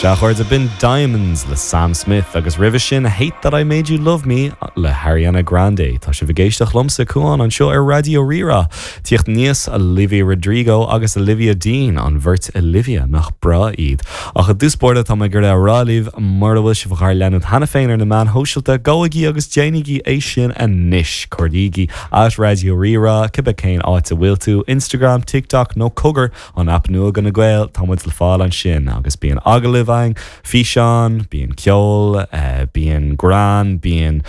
Sea, a chairde, b'in Diamonds le Sam Smith agus roimhe sin Hate That I Made You Love Me le hAriana Grande. Tá sibh ag éisteacht liomsa, Cuán, anseo ar Raidió Rí-Rá. Tíocht aníos, Olivia Rodrigo agus Olivia Dean, an bheirt Olivia, nach breá iad. Ach i dtús báire tá mé ag iarraidh a rá libh, mura bhfuil sibh dhár leanúint cheana féin ar na meáin shóisialta, gabhaigí agus déanaigí é sin anois! Cuardaígí @RaidioRíRá, cibé cén áit a bhfuil tú, Instagram, TikTok nó cogar, An aip nua do na Gaeil, tá muid le fáil ansin agus bíonn agallaimh againn, físeáin, bíonn ceol, bíonn greann, bíonn.